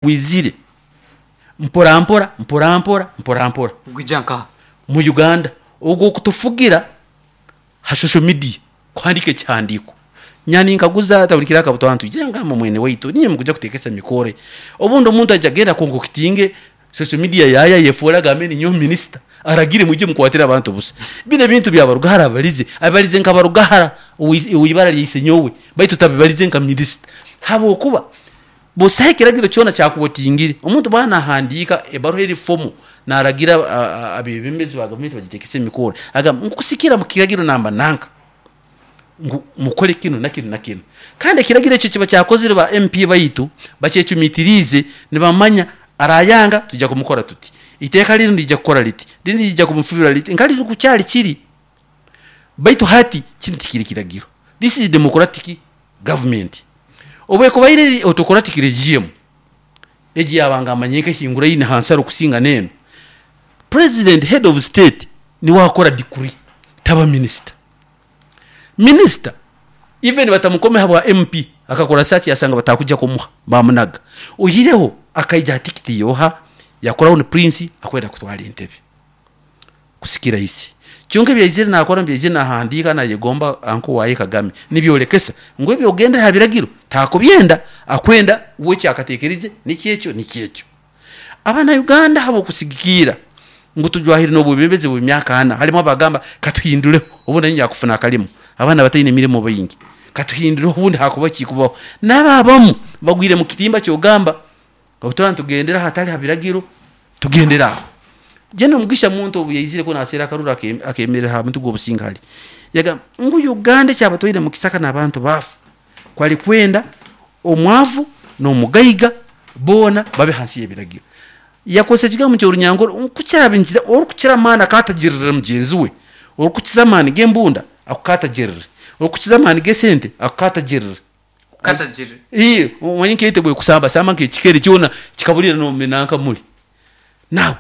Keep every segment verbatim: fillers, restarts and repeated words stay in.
Gwizire mpora mpora mpora mpora mpora mpora. Gwija nkaha? Mu Uganda ogwo okutufugira ha social media, kuhandika ekihandiiko nyani nkaguza tabulikira akabuto antu ije ngamba mwene waitu niye mukuja kutekesa mikore. Obundi omuntu aja genda konkokitinge social media yaya yefuura agambe ninyowe minisita aragire mwije mukwatire abantu busa. Bino ebintu bya Barugahara abalize abalize nka Barugahara ow'ibara lya isenyowe, baitu tabibalize nka minisita, habwokuba busaho ekiragiro kyona kyakuwotingire. Omuntu bwaba nahandiika ebaruha eri fomo naragira abebembezi ba gavumenti bagitekese emikoro, agamba nkusikira mu kiragiro namba nanka ngu mukole kinu na kinu na kinu. Kandi ekiragiro ekyo kiba kyakozire ba M P baitu bakyecumitiriize, nibamanya arayanga tujja kumukora tuti, iteeka linu liija kukora liti, linu liija kumufubira liti, nka liri kukyali kiri. Baitu hati kinu tikiri kiragiro, this is democratic government. Obu ekubaire eri autocratic regime, egi yabanga amanyire nk'ehinguraine ha nsaro kusinga n'enu, president, head of state, niwe akora decree, taba minisita. Minisita even batamukome habwa M P, akakora search yasanga batakuja kumuha, bamunaga. Oihireho akaija ha tikiti yoha ya crown prince akwenda kutwara entebe kusikira isi. Kyonka ebyaizire nakora, byaizire nahandiika nayegomba anko waye Kagame, nibyolekesa ngu ebyogendera ha biragiro takubyenda, akwenda we kyakateekerize nikyekyo nikyekyo. Abana Uganda habwokusigikiira ngu tujwahire n'obwebembezi bw'emyaka ana, halimu abagamba katuhinduleho obundi niinya kufuna akalimu, abaana bataine mirimo baingi, katuhinduleho obundi hakuba kikubaho. N'abo abamu bagwire mu kitimba kyogamba obu turaba nitugendera hatali ha biragiro, tugendere aho. Jeno Mugisha Muntu obu yaizire kunu naseera akaruru, akemerera ha muti gw'obusinge hali, yagamba ngu Uganda ekyabatwaire mu kisaka n'abantu baafu kwali kwenda omwavu n'omugaiga boona babe hansi y'ebiragiro. Yakozesa ekigambo ky'Orunyankore nkukira orukukira amaani akatagirira mugenzi we, orukukiza amaani g'embunda akukatagirire, orukukiza amaani g'esente akukatagirire. Kukatagirira? Ii, omanye nkaite bwekusambasamba nk'ekikere kyona kikabulira nanka muli. Now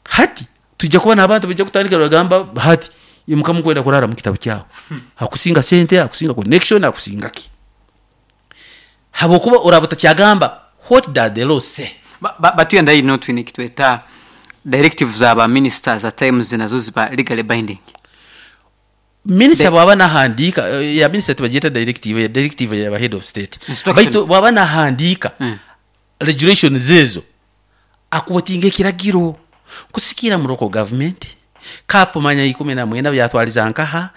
hati twija kuba n'abantu baija kutandika nibagamba hati imuka mukwenda kurara mu kitabu kyawe, akusinga sente, akusinga connection, akusinga ki, habwokuba oraba otakyagamba, "What does the law say?" Batugenda ino twine ekitweta directive za ba ministers, at times nazo ziba legally binding. Minisita bwaba nahandiika eh, ya minisita tibagyeta directive, ya directive yaba head of state. Instructions. Baitu bwaba nahandiika Mm. regulations ezo akuwatinga ekiragiro kusikira mu local government kapo manya ikumi na mwenda byatwaliza nkaha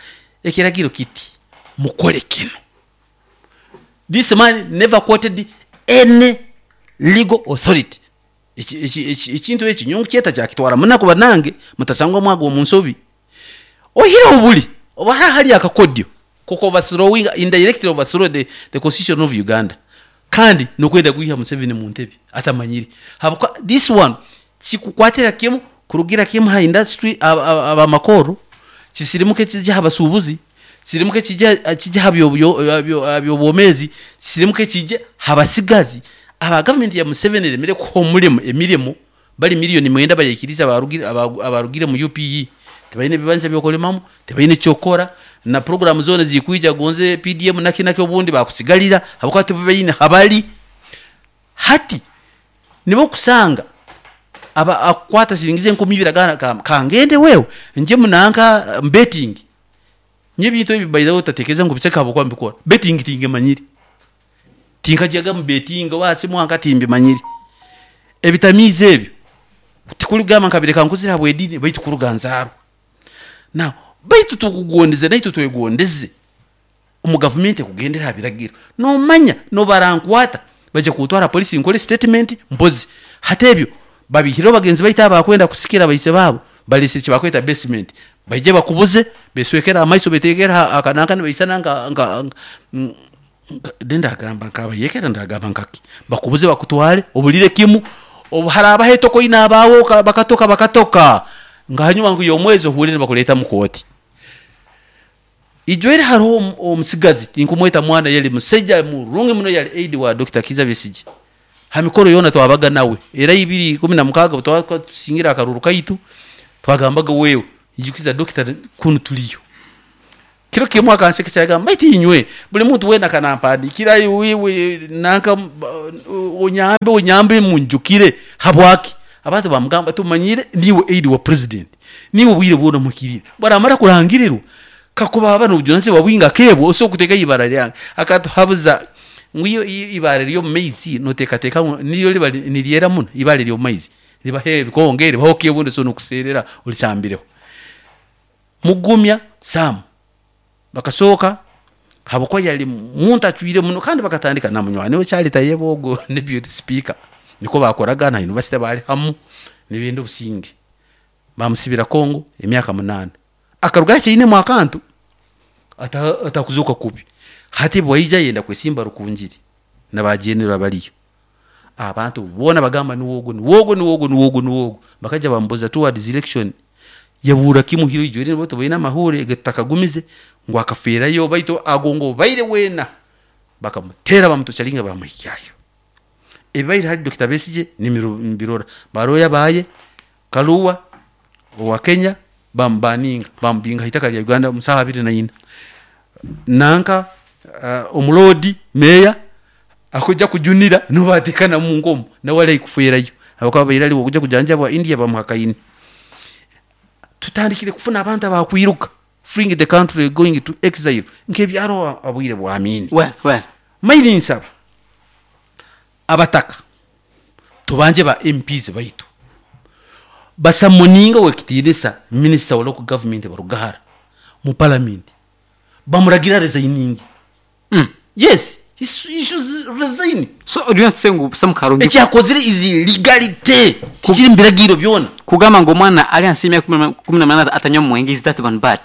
ekiragiro kiti mukole kino. This man never quoted any legal authority. Eki- eki- eki- ekintu eki nyowe nkukyeta kyakitwara munaku. Banange mutasangwa mwaga omu nsobi. Oihireho buli oba hariho hali akakodyo koko overthrowing, indirectly overthrow the, the constitution of Uganda, kandi nokwenda kwiha Museveni mu ntebe atamanyire. Habwokuba this one kikukwatira kimu kurugira kimu ha industry, abamakoro, kisirimuke kijya ha basuubuzi, kisirimuke kijya kijya ha byobwomezi, kisirimuke kijya ha basigazi aba gavumenti ya Museveni eremere kuha omurimo emirimo. Bali miliyoni mwenda bayikiriza abarugire abarugire mu U P E, tibaine ebibanja byokulimamu, tibaine kyokora, na programu zona zikwija gonze P D M naki naki obundi bakusigalira habwokuba tibaine habali. Hati nibo kusanga aba akukwata siringi ze enkumi ibiri agana kangende wewe nje munanka betting. Nye ebintu ebi, by the way, otatekereza ngu biseka habwokuba mbikora. Betting tingemanyire, tinkajaga mu betting wasi mwanka, timbimanyire ebitamiizi ebyo. Tikurigamba nkabireka nkuzire habw'ediini, baitu kuruga nzaarwa. Now baitu tukugondeze, naitwe twegondeze omu gavumenti ekugendera ha biragiro. Nomanya nobarankwata baija kuntwara polisi nkore statement mpozi. Hati ebyo babihireho bagenzi baitu abakwenda kusikira baise baabo balese ekibakweta basement, baije bakubuze beswekere amaiso, betekere akananka nibaisana nka nka ndagamba nkabayekera, ndagamba nkaki, bakubuze bakutware obulire kimu. Obu harabaho etoko ine abawo bakatoka bakatoka nga hanyuma ngu y'omwezi ohurire nibakuleeta mu kooti. Ijwere hariho omusigazi, tinkumweta mwana, yali musaija murungi muno, yali aide wa Doctor Kiza Besigye. Ha mikoro yoona twabaga nawe, era ibiri ikumi na mukaaga twaba tusingira akaruru kaitu, twagambaga, "Wewe ijukiza doctor kunu tuliyo." Kiro kimwe akansekesa, yagamba, "Baitu inywe buli muntu wena kanampandikira wiwe nanka onyambe onyambe munjukire habwaki?" Abantu bamugamba, "Tumanyire niwe aide wa president, niwe bwire bwona mukirire baramara kurangirirwa kakuba aba nobujunanizibwa bwinga kebwo osobola kuteeka ibara lyange." Akatuhabuza ngu iyo ibara ryo maizi noteekateeka niryo liba niryera muno. Ibara ryo maizi libaho ebikonge, libaho kebundi, so nokuseerera olisambireho. Mugumya Sam bakasooka habwokuba yali muntu acwire muno, kandi bakatandika na munywani we Charlie Tayebwa, ogwo deputy speaker, niko bakoraga na university bali hamu n'ibindi obusinge. Bamusibira Kongo emyaka munana, akaruga akiinemu akantu atakuzuka kubi. Hati bwaija yenda kwesimba Rukungiri nabajenera baliyo, abantu boona bagamba niwogo, niwogo, niwogo, niwogo, niwogo. Bakaija bambuza towards election, yabura kimu hiro ijwere bo tubaina amahure getakagumize ngu akaferayo, baitu agongo baire wena bakamutera bamutuchalinga bamuhikyayo. Ebaire hali Doctor Besigye nimirora baroya baye Kaluwa owa Kenya bambaninga bambinga itaka lya Uganda musaha abiri na ina nanka uh, omulodi meya akuja kujunira nobatekana mu ngomo na wale ikuferayo abakaba bairali okuja kujanjabwa India bamuhakaini. Tutandikire kufuna abantu abakwiruka, fleeing the country, going to exile nkebyaro abwire bwamini. Well, well. Maili nsaba abataka tubanje ba M Ps baitu basamuninga wekitirisa minister wa local government barugahara mu parliament bamuragira resigning. Mm. Yes, he, he should resign. So do you want to say ngu Sam Karungi ekyakozire is illegality tikiri mbiragiro byona kugamba ngo mwana ali ansi emyaka kumi na munana atanywa mwenge, is that one bad?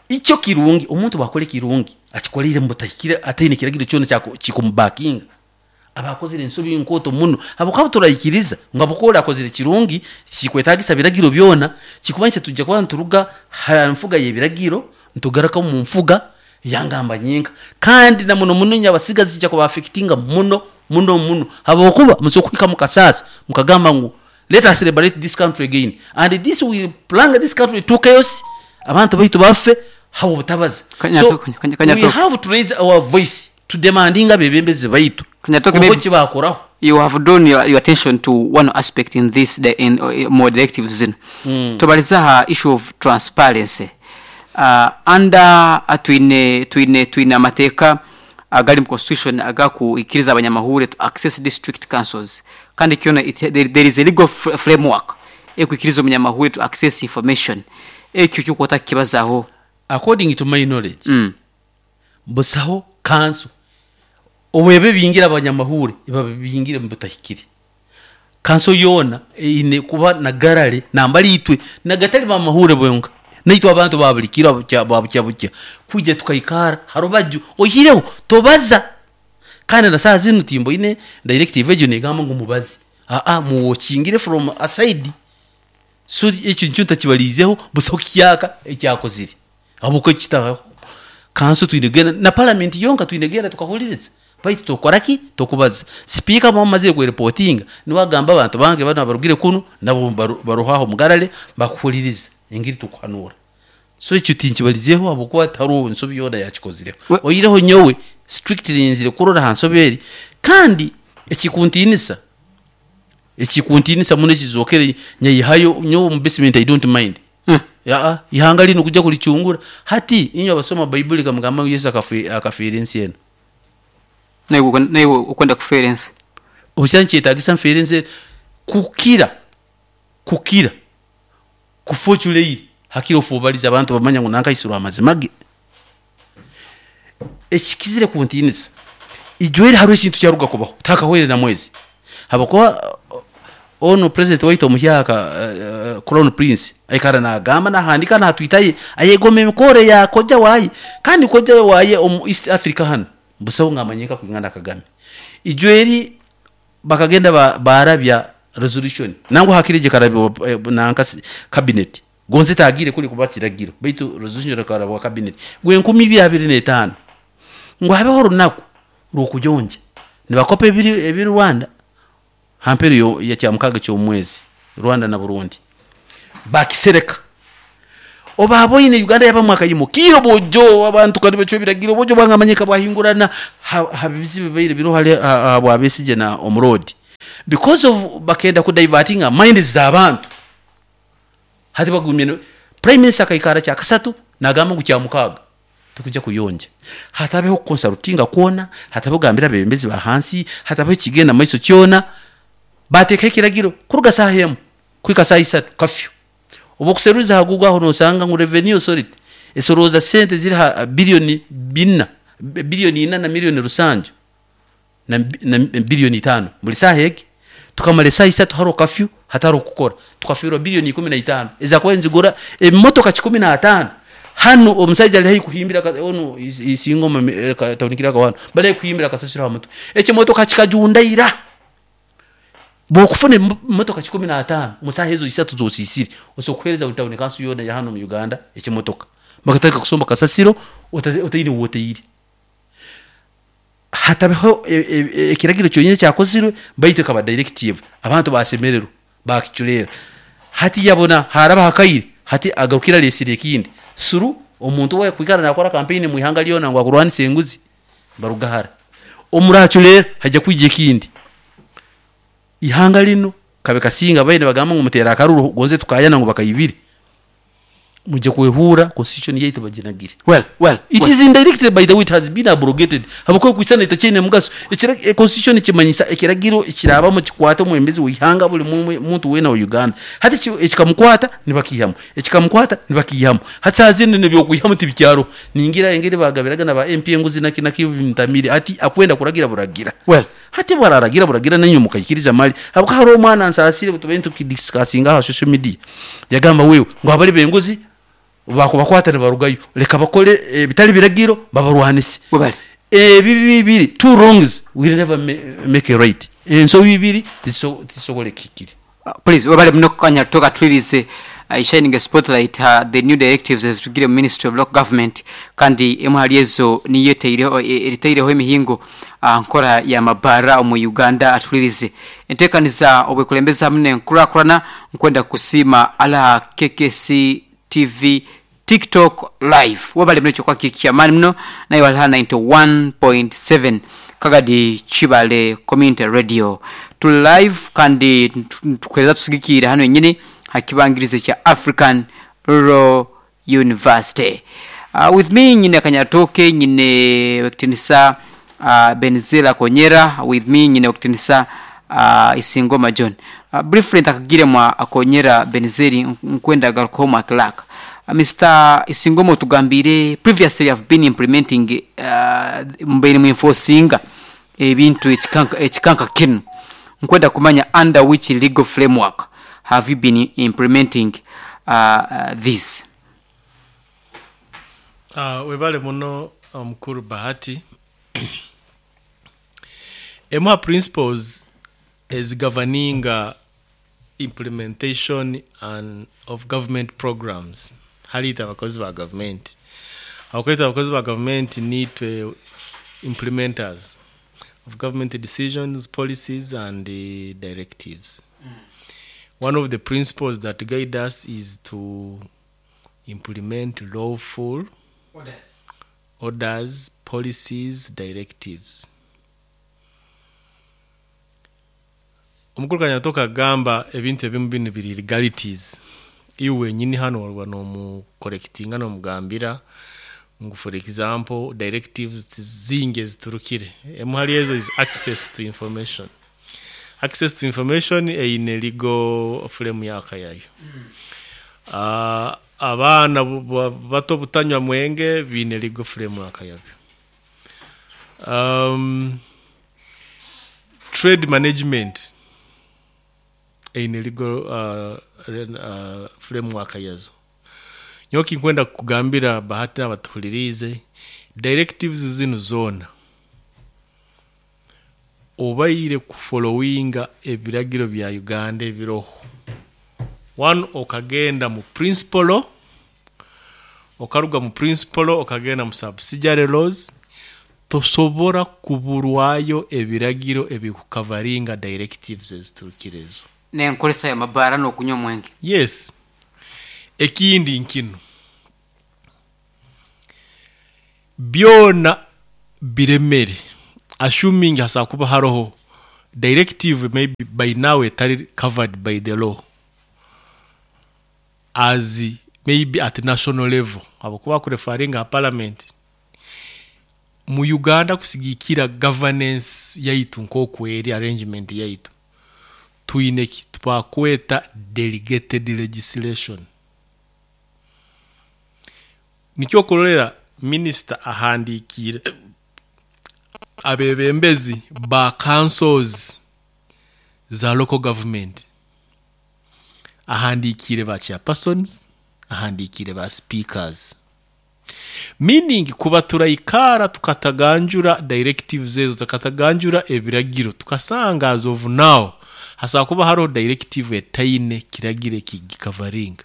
Icyo kirungi omuntu bakore kirungi akikolire mutahikire ataine kiragiro cyona cyako kikumubakinga abakozire ensobi nkoto muno abokaba turayikiriza ngo abokora akozire kirungi kikwetagisa biragiro byona kikumanyisa tujja kuba nturuga ha mfuga ye biragiro ntugaraka mu mfuga yangamba nyinka kandi na muno muno nyabasigazi kijja kuba affectinga muno muno muno abokuba musokwika mukasasa mukagamba ngu let us liberate this country again and this will plunge this country to chaos abantu baitu bafe habo butabaza. So we have to raise our voice to demandinga bebembezi baitu kibakoraho. You have drawn your, your attention to one aspect in this the, in uh, more directives zino mm. Tobaliza issue of transparency uh, under uh, twine twine twine amateeka agali mu constitution agaku ikiriza abanyamahure to access district councils kandi kiona it, there, there is a legal fr framework ekuikiriza omunyamahure to access information ekyo kyokota kibazaho according to my knowledge mm. Busaho council obwebe bingira abanyamahure ibabingire mu butahikire kanso yona ine kuba na garale nambali itwe nagatali bamahure bwenga naitwa abantu babulikira babukya bukya kujya tukaikara harubaju ohireho tobaza kandi na saa zino timbo ine directive ejo negamba ngo mubazi a a muwokingire from aside so ekyo ncho takibalizeho busaho kiyaka ekyakozire abuko kitaho kanso twinegena na parliament yonka twinegena tukahuliriza baitu tokoraki tokubaza speaker bamaze ku reporting niwagamba abantu bange bano barugire kuno nabo baruhaho mugarale bakuhuliriza ingiri tukuhanura so ekyo tinkibalizeho abuko ataro nsobi yona yakikozire oyireho nyowe strictly nzire kurora hansoberi kandi ekikuntinisa ekikuntinisa muno ekizokere nyayihayo nyowe mu basement I don't mind mm. Ya ihanga lino kujja kulichungura hati inyo abasoma Bible kamugamba Yesu akafi akafira ensi eno naye naye ukwenda kufera ensi obucyanchi etagisa mfera ensi kukira kukira kufochuleire hakiro fubaliza abantu bamanya ngo nanka isura amazimage ekikizire kuntinisa ijwere haro ekintu kyaruga kubaho takahwere na mwezi habakuba ono president waito muhyaka uh, crown prince aikara nagamba nahandika natwitaye ayegome mikore ya koja wayi kandi koja waye omu East Africa hano busaho ngamanyika kwingana Kagame ijweri bakagenda ba, barabya resolution nango hakirije karabyo nanka cabinet gonze tagire kuli kubakiragiro baitu resolution karabwa cabinet gwe nkumi bibiri na tano ngo habeho runaku rukujonje nibakope ebiri ebiri Rwanda hamperi yo ya cyamukaga cyo mwezi Rwanda na Burundi bakisereka Oba aboine Uganda yaba mwaka yimo kiro bojo abantu kandi bacho biragiro bojo bwangamanyika bwahingurana habizibe baire biro hale bwabesije na omurodi because of bakenda ku diverting minds z'abantu. Hati bagumye prime minister kaikara kya kasatu nagamba ngu kya mukaga tukujja kuyonja, hatabeho consultinga kwona, hatabeho gambira bebembezi ba hansi, hatabeho kigenda maiso kyona. Bateka ekiragiro kuruga saha emu kwika saha isatu kafyu. Oba okuseruza hagugu aho nosanga ngu revenue authority esoroza sente ziri ha bilioni bina bilioni ina na milioni rusanju na, na bilioni tano buli saha egi. Tukamara esaha isatu haro kafyu hataro kukora, tukafirwa bilioni ikumi na itano ezakuba nzigura emotoka kikumi na atano. Hano omusajja ali kuhimbira ono isingoma taunikira ka wano bali kuhimbira kasasiro ha mutwe ekimotoka kikajundaira. Bokufuna motoka kikumi na atano musaha ezo isatu zosisiri osokuhereza utawuni kansu yona ya hano mu Uganda ekimotoka bakataka kusomba kasasiro otaine woteire. Hatabeho ekiragiro kyonyine kyakozirwe baitu kaba directive abantu basemerero bakichulera. Hati yabona haraba hakaire hati agarukira lesire ekindi suru omuntu we kwikara nakora campaign mu ihanga lyona ngo akurwanise enguzi barugahara omurachulera hajja kwije kindi ihanga lino kabe kasinga baine bagamba ngo mutera akaruru gonze tukayana ngo bakayibiri muje kwehura constitution yaitu baginagire. Well well it well. Is indirected by the way it has been abrogated habako kwisana itachene mugaso ekira constitution kimanyisa ekiragiro ekiraba mu kikwata omwembezi wihanga buli muntu wena wa Uganda. Hati ekikamkwata nibakihamu ekikamkwata nibakihamu hati azine nebyo kuyihamu tibikyaro ningira engeri bagabiraga na ba M P enguzi nakina kibintamire ati akwenda kuragira buragira. Well hati bararagira buragira nenyo mukayikiriza mali habako hari omwana nsasire butubenti tukidiscussinga ha social media yagamba wewe ngo abali benguzi bakubakwata ne barugayo leka bakole e, bitali biragiro babarwanise ebi bibiri two wrongs will never make a right enso bibiri tisogole kikiri. Uh, please wabale muno kanya toka twirize uh, shining a spotlight uh, the new directives as to give Ministry of Local Government kandi emu ezo niyo teireho eriteireho emihingo uh, nkora ya mabara mu Uganda atwirize entekaniza obwekulembeza hamwe nkurakurana nkwenda kusima ala K K C T V TikTok live wabale mno kwa kikiamani mno na iwala ninety-one point seven Kagadi Chibale Community Radio to live kandi tukweza tusigikira hano nyine hakibangirize cha African Rural University. Uh, with me nyine Kanyatoke nyine Wektinisa uh, Benzela Konyera with me nyine Wektinisa uh, Isingoma John. Uh, briefly ntakagire mwa Akonyera Benzeri nkwenda garukoma Clark. Uh, Mister Isingoma tugambire previously have been implementing uh, mbere mu enforcing ebintu ekikanka ekikanka kinu nkwenda kumanya under which legal framework have you been implementing uh, uh, this? Uh, webale muno omukuru um, Bahati. Ema principles is governing uh, implementation and of government programs. Halita abakozi ba government. Abakozi abakozi ba government need to implementers of government decisions, policies and uh, directives. Mm. One of the principles that guide us is to implement lawful orders, orders policies, directives. Omukuru Kanyatoka agamba ebintu ebimu bino biri legalities. Iwe nyini hano walwa no collectinga no mugambira ngu for example directives zinge ziturukire. Emu hali ezo is access to information. Access to information eine legal frame yakayayo. Mm. Uh, abaana bato butanywa mwenge bine legal frame yakayayo. Um, trade management eine legal uh, uh, framework yazo. Nyoki nkwenda kugambira Bahati abatuhulirize directives zino zona obaire kufollowinga ebiragiro bya Uganda ebiroho. One, okagenda mu principle, okaruga mu principle okagenda mu subsidiary laws, tosobora kuburwayo ebiragiro ebikukavaringa directives eziturukirezo. Nenkolesa ya mabara no kunywa mwenge. Yes. Ekindi nkino. Byona biremere, assuming hasa kuba haroho directive, maybe by now etari covered by the law as maybe at national level, abakuba kureferringa parliament mu Uganda. Kusigikira governance yaitu nkoku eri arrangement yaitu, twine twakweta delegated legislation. Nikyo kurorera minister ahandikire abebembezi ba councils za local government, ahandikire ba chairpersons, ahandikire ba speakers, meaning kuba turayikara tukataganjura directives ezo, tukataganjura ebiragiro, tukasanga as of now hasa kuba hariho directive etaine kiragiro ekigicoveringa.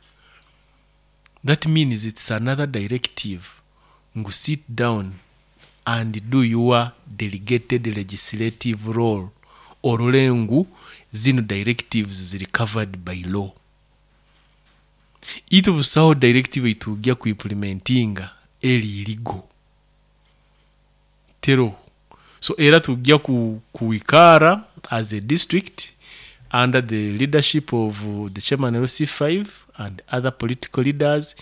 That means it's another directive ngu sit down and do your delegated legislative role, orole ngu zino directives ziri covered by law. Itu busaho directive itujya kuimplementinga eri irigo tero. So era tujya ku kuikara as a district under the leadership of uh, the chairman L C five and other political leaders,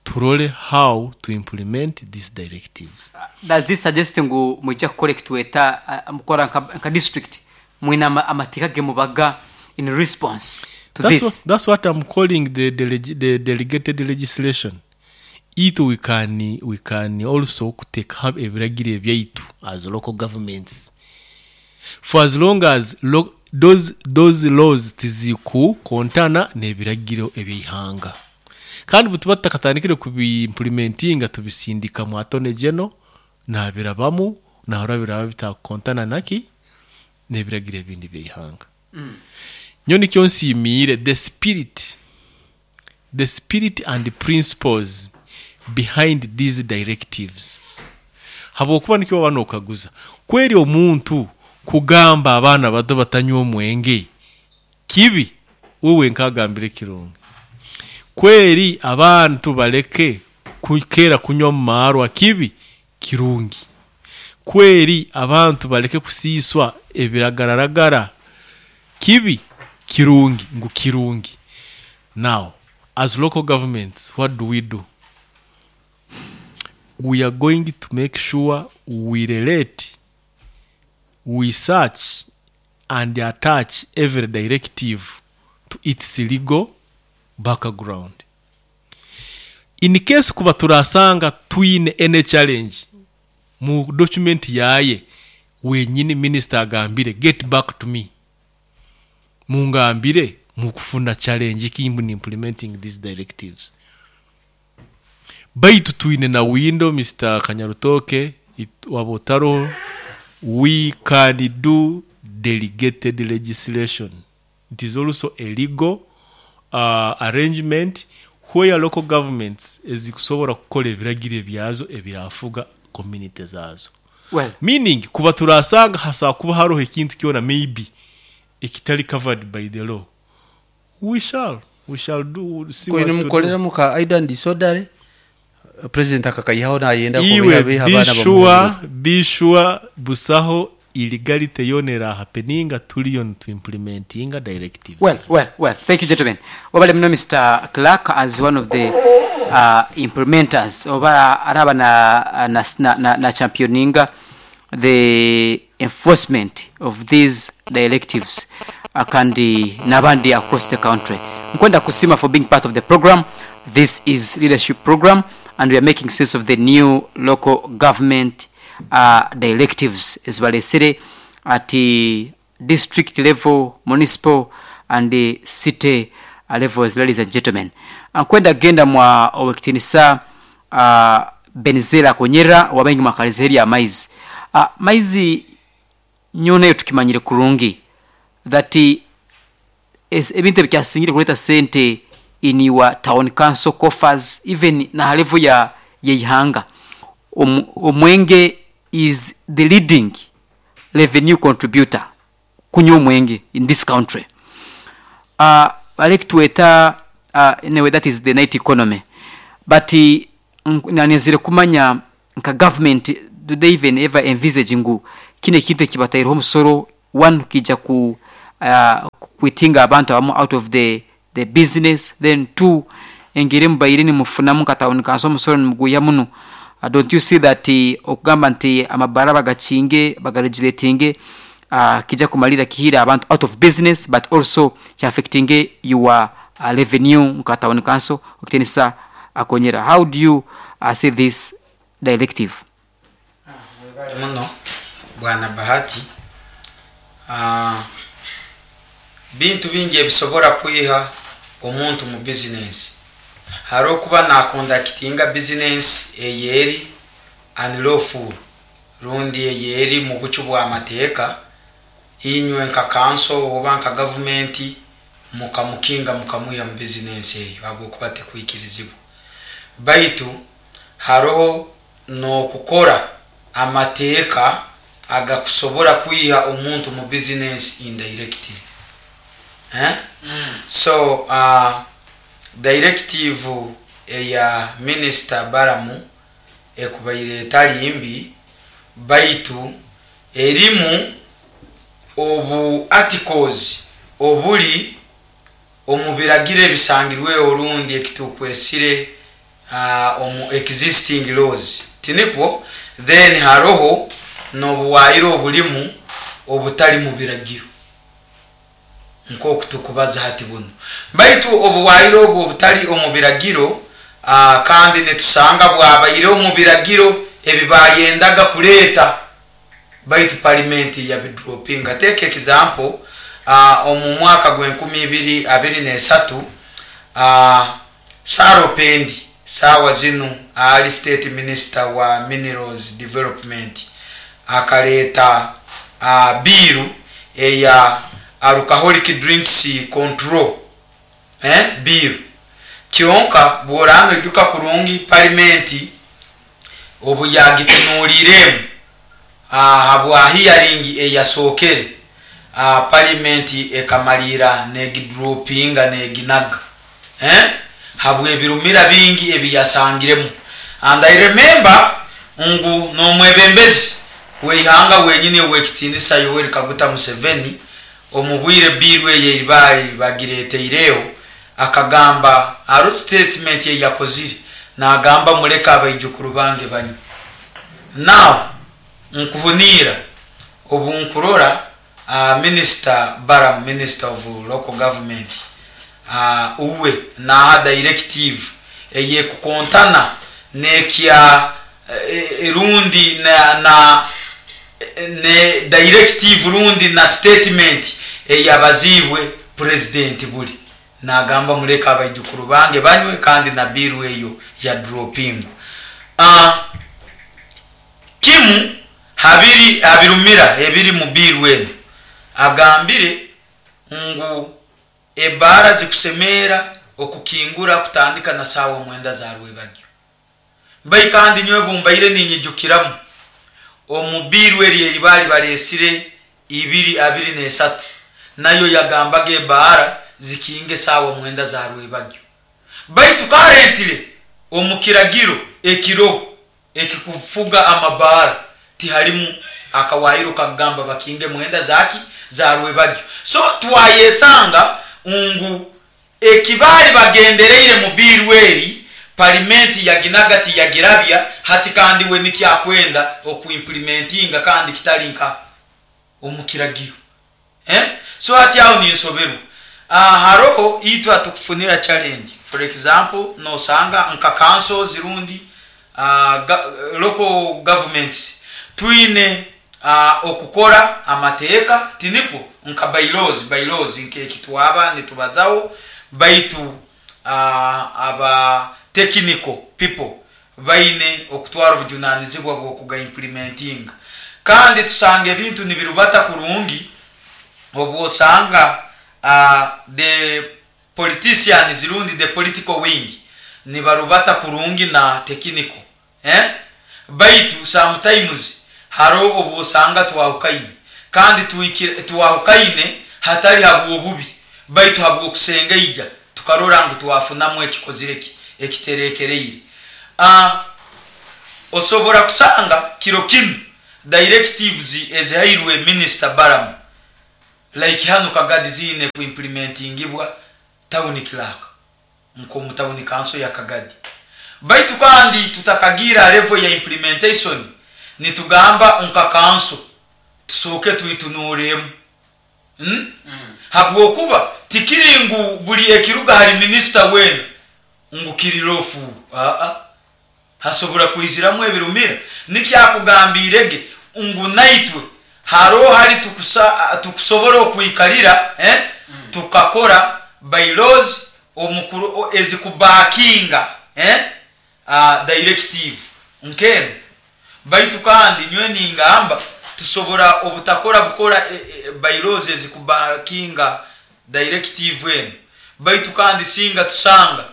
turole how to implement these directives. Does this suggest ngu mwijja kucorrectweta uh, mukora nka, nka district mwina ama- amateeka ge mubaga in response to that's this? what, that's what I'm calling the, deleg the delegated legislation. Itu we can we can also take up ebiragiro ebyaitu as local governments, for as long as lo, those, those laws tizikukontana n'ebiragiro ebyeihanga. Kandi bwe tuba tutakatandikire kubiimplementinga, tubisindika mu attorney general, nabirabamu, nahora biraba bitakontana naki n'ebiragiro ebindi byeihanga. Nyo nikyo nsiimiire the spirit the spirit and the principles behind these directives, habwokuba nikyo baba nokaguza kweri omuntu kugamba abaana bato batanywa omwenge kibi, wewe nkagambire kirungi. Kweri abantu baleke kukera kunywa mu marwa kibi, kirungi. Kweri abantu baleke kusiiswa ebiragararagara kibi, kirungi, ngu kirungi. Now, as local governments, what do we do? We are going to make sure we relate, we search and attach every directive to its legal background. In case kuba turasanga twine any challenge mu document yaye wenyini, minister agambire, "Get back to me, mungambire mukufuna challenge kimbu ni implementing these directives." Baitu twine na window, Mister Kanyarutoke, it- wabotaro, we can do delegated legislation. It is also a legal uh, arrangement where local governments ezikusobola kukola ebiragiro ebyazo ebirafuga community zazo. Well, meaning kuba turasanga hasaba kuba hariho ekintu kyona maybe ekitali covered by the law, we shall we shall do, see what kwine to do. Mukolera muka idle disorder, president akakayihaho nayenda Iwe kubiha abaana. Be sure be sure busaho illegality yonera happeninga tuliyo to implementinga directives. Well, well, well. Thank you, gentlemen. Wabale muno, Mister Clark, as one of the uh, implementers oba araba na, na, na, na, na championinga the enforcement of these directives uh, kandi n'abandi across the country. Nkwenda kusima for being part of the program. This is leadership program and we are making sense of the new local government uh, directives ezibalesere at district level, municipal and the city uh, levels. Ladies and gentlemen, nkwenda genda mwa owekitinisa uh, Benizera Konyera wabaingi mwakalizeri ya maizi uh, maizi nyonayo tukimanyire kurungi that es- ebintu ebikyasingire kuleta sente in your town council coffers, even na level ya yeihanga, Om, omwenge is the leading revenue contributor, kunywa omwenge, in this country. uh, alekitweta uh, anyway, that is the night economy, but uh, nanizire kumanya Nka government, do they even ever envisage ngu kino ekintu ekibataireho omusoro one kijja ku uh, kwitinga abantu abamu out of the, the business, then two, engeri mubaire nimufunamu nka town council omusoro nimuguya muno? uh, don't you see that uh, okugamba nti amabara bagakinge, bagaregulatinge, uh, kijja kumalira kihira abantu out of business, but also kyaffectinge your uh, revenue nka town council okutenisa akonyera? How do you uh, see this directive? Webale muno, bwana Bahati. Ah, bintu bingi ebisobora kwiha omuntu mu bizinesi. Hari okuba naconductinga bizinesi eyeri unlawful rundi eyeri mu bucu bw'amateeka, inywe nka council oba nka gavumenti mukamukinga, mukamwiha mu bizinesi eyo habwokuba tekwikirizibwa. Baitu haroho n'okukora amateeka agakusobora kwiha omuntu mu bizinesi indirectly, eh? So uh, directive eya Minisita Baramu ekubaire etali mbi, baitu erimu obu articles obuli omu biragiro ebisangirweho orundi ekitukwesire uh, omu existing laws, tinikwo? Then haroho n'obuwaayiro obulimu obutali mu biragiro nk'oku tukubaza hati buno. Baitu obuwaayiro obwo obutali omu biragiro, uh, kandi nitusanga bwabaire omu biragiro ebibayendaga kuleeta, baitu palimenti yabidropinga. Take example, uh, omu mwaka gw'enkumi ibiri abiri n'esatu, uh, Sarah Opendi, saawa zinu ali state minister wa minerals development, akaleeta uh, bill eya alcoholic drinks control, eh, bill. Kyonka bw'oranga ojuka kurungi, palimenti obu yagitunuuliremu habwa hearing eyasookere, uh, palimenti ekamalira negidropinga, neginaga, eh? Habw'ebirumira bingi ebiyasangiremu. And I remember ngu n'omwebembezi weihanga wenyini owekitiinisa Yoweri Kaguta Museveni, omu bwire bill eyo eribaali bagireteireho, akagamba, aro statement eyakozire, nagamba, "Muleke abaijukuru bange banywe." Now nkuhuniira obu nkurora uh, Minister Baram, minister of local government, uh, uwe naha directive eyekukontana nekya eh, rundi na, na ne directive rundi na statement eyabazibwe president buli nagamba, "Muleke abaijukuru bange banywe," kandi na bill eyo ya dropping. uh, kimu habiri habirumira ebiri mu bill eno, agambire ngu ebara zikusemera okukingura kutandika na saawa mwenda za rwebagyo. Bai kandi nyowe bumbaire ninyijukiramu omu bill eri eri baresire ibiri abiri n'esatu, nayo yagambaga ebara zikinge saawa mwenda za rwebagyo. Baitu currently omu kiragiro ekiro ekikufuga amabara tiharimu akawayiro kagamba bakinge mwenda zaki za rwebagyo. So twayesanga ngu ekibaali bagendereire mu bill eri, palimenti yaginaga, tiyagirabya hati, kandi we nikyakwenda okuimplementinga kandi kitali nka omu kiragiro, eh? So hati aho ninsoberwa. uh, haroho itwe atukufunira challenge. For example, nosanga nka councils rundi uh, ga, local governments twine uh, okukora amateeka, tinikwo? Nka bylaws bylaws nkekitwaba nitubazaho, baitu uh, aba technical people baine okutwara obujunanizibwa bw'okugaimplementinga. Kandi tusanga ebintu nibirubata kurungi obwosanga uh, the politicians rundi the political wing nibarubata kurungi na technical, eh? Baitu sometimes haro obwosanga twahukaine, kandi twahukaine hatali habwobubi, baitu habwokusengaija tukarora ngu twafunamu ekikozire ki ekiterekereire. uh, Osobora kusanga kiro kinu directives ezihairwe Minister Balaam like hano Kagadi ziine kuimplementingibwa town clerk nkomu town council ya Kagadi, baitu kandi tutakagira level ya implementation, nitugamba nka council tusooke tuitunuremu, hmm? mm. Habwokuba tikiri ngu buli ekiruga hari minister wena ngu kiri lawful. Aa, hasobora kwiziramu ebirumira. Nikyakugambirege ngu naitwe haro hari tukusa, tukusobora okwikalira, eh? mm. Tukakora bylaws omukuru ezikubakinga, eh? uh, directive nkeno. Baitu kandi nywe ningamba tusobora obutakora bukora e, e, bylaws ezikubakinga directive eno, baitu kandi singa tusanga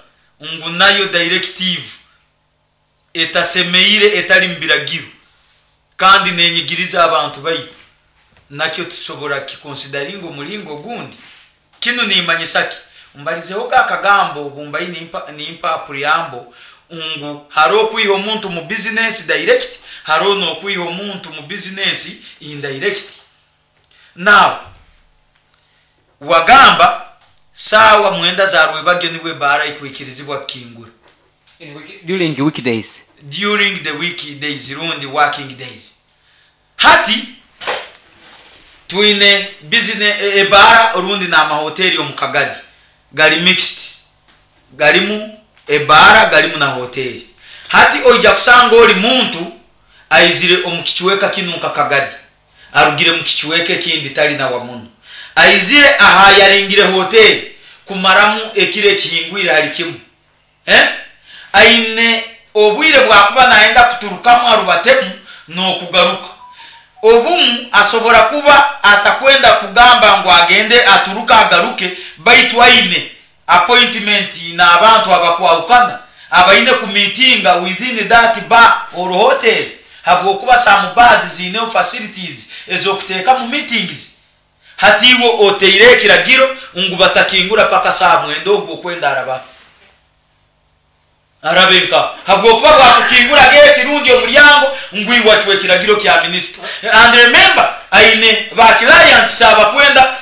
ngu nayo directive etasemeire, etali mbiragiro kandi nenyigiriza abantu baitu, nakyo tusobora kikonsidaringa omulingo gundi. Kinu nimanyisa ki? Mbalizeho akagambo bumbai nimpa, nimpa preamble ngu haro kwiha omuntu mu business direct, haro no kwiha omuntu mu business indirect. Now wagamba sawa mwenda za rwebagyo niwe bara ikwikirizibwa kingura during weekdays, during the weekdays rundi working days. Hati twine business ebara rundi na mahoteli omu Kagadi gali mixed, galimu ebara galimu na hoteli. Hati oija kusanga oli muntu aizire omu kichweka kinu nka Kagadi, arugire mu kichweka ekindi tali na wamuno, aizire aha yaringire hoteli kumaramu ekire kihingwire hali kimu, eh? Aine obwire bwakuba naenda kuturukamu arubatemu n'okugaruka. Obumu asobora kuba atakwenda kugamba ngu agende aturuka agaruke, baitu aine appointment n'abantu abakwahukana abaine kumitinga within that bar or hotel, habwokuba some bars ziine facilities ez'okuteeka mu meetings. Hatiwo oteire ekiragiro ngu batakingura paka saa mwenda ogwo okwenda araba arabenka, habwokuba bwakukingura gate rundi omulyango ngu iwachwe ekiragiro kya minister. And remember aine ba clients abakwenda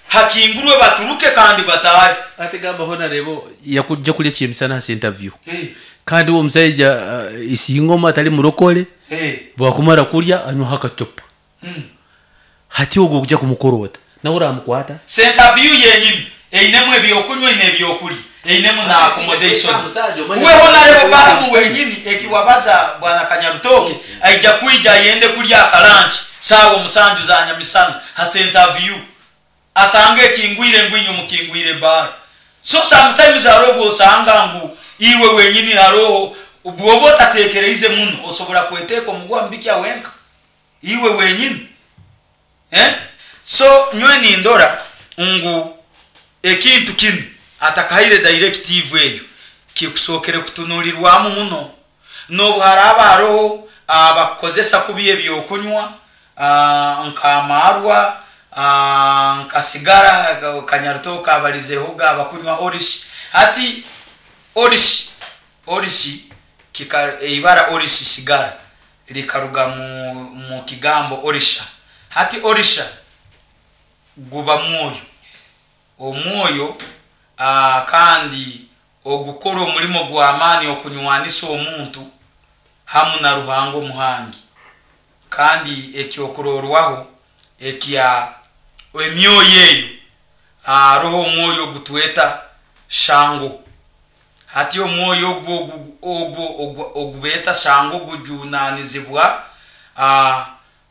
hakingurwe baturuke kandi batahe. Ate gamba hona rebo yakujja kulya kyemisana hasi interview. Hey. Kandi uwo musajja uh, isingoma atali murokole. Hey. Bwakumara kulya anywa hakachopa. Mm. Hati ogwo kujja kumukorota nawe uramukwata interview yenyini einemu ebyokunywa ine ebyokulya einemu na accommodation. Uwe honarebo Balaam wenyini ekiwabaza bwana Kanyarutoke aija kuija ayende kulya akalanchi sawa musanju za nyamisana hasa interview asange ekingwire ngwinyo mukingwire bar. So sometimes arobo osanga ngu iwe wenyini haroho bwoba otatekereize muno osobora kweteka omugwa mbikya wenka iwe wenyini, eh? So nywe nindora ngu ekintu kinu atakaire directive eyo kikusokere kutunulirwamu muno. Nobu haraba haroho abakozesa kubi ebyokunywa nkamarwa nkasigara Kanyarutoke abalizeho abakunywa orishi. Hati orishi orishi kika ibara orishi sigara likaruga mu, mu kigambo orisha. Hati orisha guba mwoyo omwoyo uh, kandi ogukora omulimo gw'amaani okunywanisa omuntu hamu na Ruhanga omuhangi. Kandi ekyokurorwaho ekya emyoyo eyo aroho omwoyo gutweta shango. Hati omwoyo ogwo ogwo ogubeta shango gujunanizibwa uh,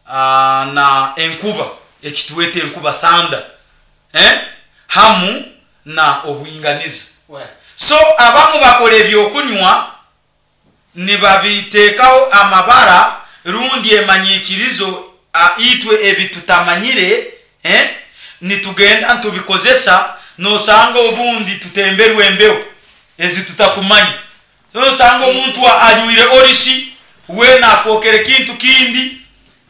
uh, na enkuba ekitweta enkuba thunder, eh? Hamu na obuinganiza. So abamu bakora ebyokunywa nibabitekaho amabara rundi emanyikirizo itwe ebitutamanyire, eh? Nitugenda ntubikozesa nosanga obundi tutemberwe embeho ezi tutakumanya. Nosanga omuntu anywire orishi we nafokere kintu kindi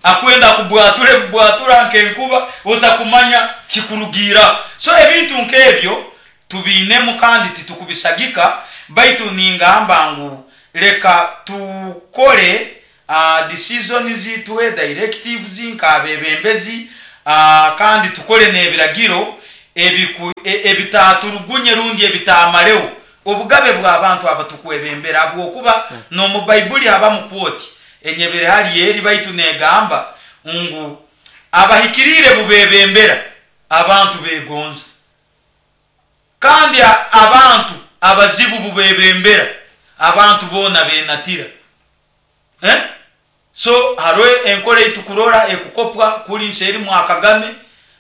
akwenda kubwature kubwatura nkenkuba utakumanya kikurugira. So ebintu nkebyo tubinemu kandi titukubisagika, baitu ningamba ngu leka tukole uh, decisions tuhe directives nk'abebembezi, uh, kandi tukole n'ebiragiro ebiku- e- ebitaturugunye rundi ebitamareho obugabe bw'abantu abatukwebembera, habwokuba n'omu Baibuli habamu kwoti enyebere hali eri baitu negamba ngu abahikiriire bubebembera abantu begonza, kandi a- abantu abazibu bubebembera abantu boona benatira, eh? So hariho enkora eitukurora ekukopwa kuri nseeri mwa Kagame,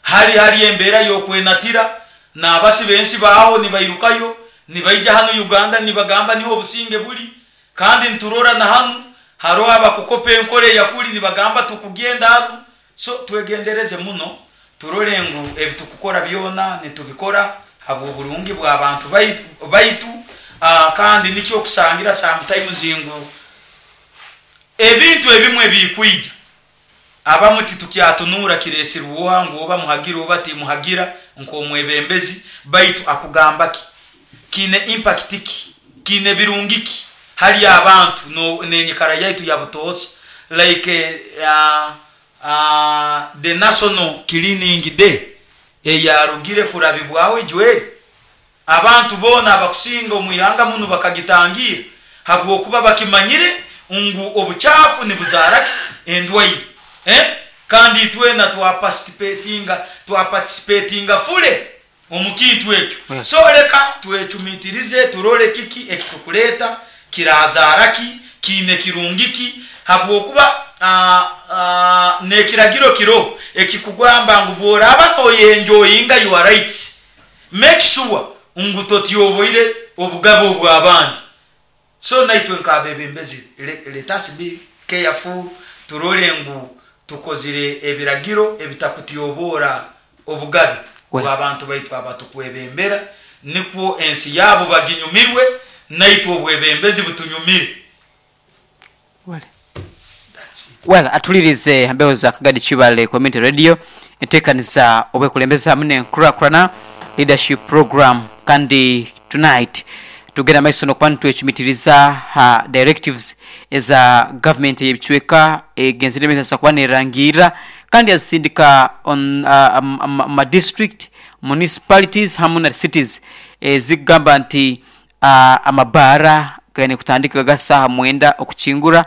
hari hari embeera y'okwenatira n'abasi bensi baaho nibairukayo nibaija hanu Uganda nibagamba niho obusinge buri, kandi nturora na hanu hariho abakukopa enkora eyakuri nibagamba tukugenda hanu. So twegendereze muno turore ngu ebitukukora byona nitubikora habw'oburungi bw'abantu baitu, baitu uh, kandi nikyo okusangira sometimes ngu ebintu ebimwe bikwija abamu titukyatunura kiresirwa ngu oba muhagira oba timuhagira nk'omwebembezi, baitu akugamba ki kiine impact ki kiine birungi ki hali abantu no nenyikara yaitu ya butoosa, like uh, uh, the national cleaning day eyarugire kurabibwaho ejweri, abantu boona abakusinga omu ihanga muno bakagitangira habwokuba bakimanyire ngu obuchafu nibuzaara ki endwaire, eh? Kandi itwena twaparticipatinga twaparticipatinga fule omu kintu ekyo. Yes. So leka twecumitirize turole kiki ekitukuleeta kirazaara ki kiine kirungi ki, habwokuba uh, uh, nekiragiro kiro ekikugamba ngu bworaba noyenjoyinga your rights, make sure ngu totyoboire obugabe obw'abandi. So naitwe nk'abebembezi let us be careful turole ngu tukozire ebiragiro ebitakutyobora obugabe Well. bw'abantu baitu abatukwebembera, nikwo ensi yabo baginyumirwe naitwe obwebembezi butunyumire. Well. That's it. Well, atulirize mbeho za Kagadi Kibale Community Radio, enteekaniza obwekulembeza hamu n'enkurakurana leadership program, kandi tonight tugenda maiso nokuba nitwecumitiriza ha directives eza government ey'ebicweka egenzere emesa kuba nerangirra kandi yazisindika on uh, um, um, ma district municipalities hamu na cities ezigamba nti uh, amabaara gaine kutandika gasaha mwenda okukingura,